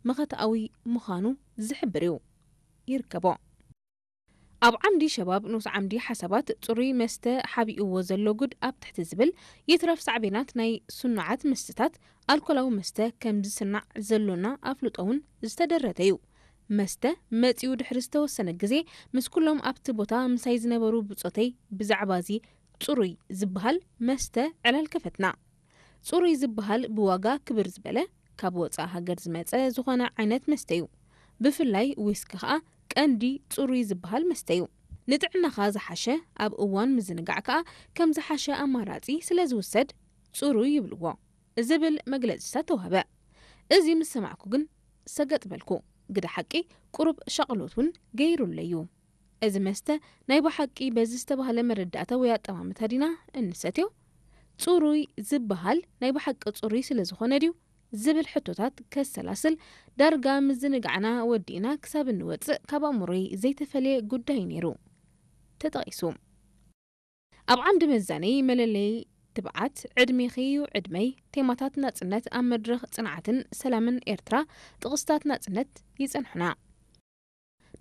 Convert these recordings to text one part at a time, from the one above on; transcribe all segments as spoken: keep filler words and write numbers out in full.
መኸትኣዊ ምዃኑ ዝሕብር እዩ። ይርከቦ። ኣብ ዓምዲ ሸባብ ንኡስ ዓምዲ ሓሳባት ጽሩይ መስተ ሓቢእዎ ዘሎ ጉድ ኣብ ትሕቲ ዝብል ይትረፍ ሳዕቤናት ናይ ስኑዓት መስተታት ኣልኮላዊ መስተ ከም ዝስናዕ ዘሎና ኣፍልጦ እውን ዝተደረተ እዩ። መስተ መጺኡ ድሕሪ ዝተወሰነ ግዜ ምስ ኩሎም ኣብቲ ቦታ ምሳይ ዝነበሩ ብጾተይ ብዛዕባ እዚ ጽሩይ ዝበሃል መስተ ዕላል ከፈትና። ጽሩይ ዝበሃል ብዋጋ ክብር ዝበለ፣ ካብ ወጻእ ሃገር ዝመጸ ዝኾነ ዓይነት መስተ እዩ። ብፍላይ ዊስኪ ከኣ ቀንዲ ጽሩይ ዝበሃል መስተ እዩ። ንጥዕናኻ ዝሓሸ፣ ኣብ እዋን ምዝንጋዕ ከኣ ከም ዝሓሸ ኣማራጺ ስለ ዝውሰድ ጽሩይ ይብልዎ ዝብል መግለጺታት ተዋህበ። እዚ ምስ ሰማዕኩ ግን ሰገጥ በልኩ። ግደ ሓቂ ቁሩብ ሻቕሎት እውን ገይሩለዩ። እዚ መስተ ናይ ብሓቂ በዚ ዝተባህለ መረዳእታ ወይ ኣጠማምታ ዲና እንሰትዮ? ጽሩይ ዝበሃል ናይ ብሓቂ ጽሩይ ስለ ዝኾነ ድዩ? ዝብል ሕቶታት ከሰላስል ዳርጋ ምዝንጋዕና ወዲእና ክሳብ እንወጽእ ካብ ኣእምሮይ ዘይተፈልየ ጉዳይ ነይሩ ተጠቒሱ። ኣብ ዓምዲ መዛነዪ መለለዪ ትብዓት፣ ዕድሜኺ እዩ ዕድመይ፣ ቴማታት ናጽነት ኣብ መድረኽ ጽንዓትን ሰላምን ኤርትራ፣ ጥቕስታት ናጽነት ይጸንሑና።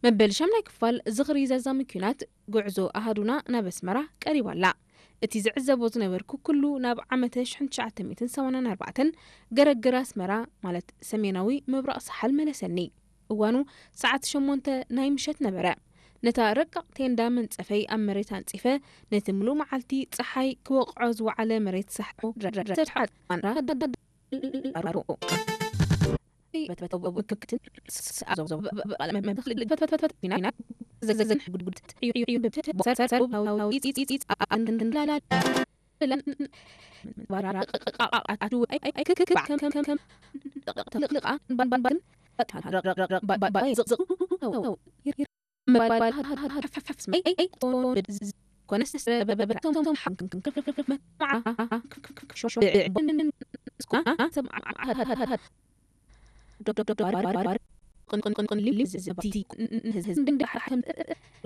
መበል ሻምናይ ክፋል ዝኽሪ ዘዛሚ ኲናት፣ ጉዕዞ ኣሃዱና ናብ ኣስመራ ቀሪባ ኣላ። እቲ ዝዕዘቦ ዝነበርኩ ኩሉ ናብ ዓመተ ሽሕን ትሽዓተ ሚእትን ሰማንያን ኣርባዕተን ገረግር ኣስመራ፣ ማለት ሰሜናዊ ምብራቕ ሰሓል መለሰኒ። እዋኑ ሰዓት ሸሞንተ ናይ ምሸት ነበረ። ነታ ረቃቕ ቴንዳ መንጸፈይ ኣብ መሬት ኣንጺፈ፣ ነቲ ምሉእ መዓልቲ ጸሓይ ክወቕዖ ዝወዓለ መሬት ሰሓ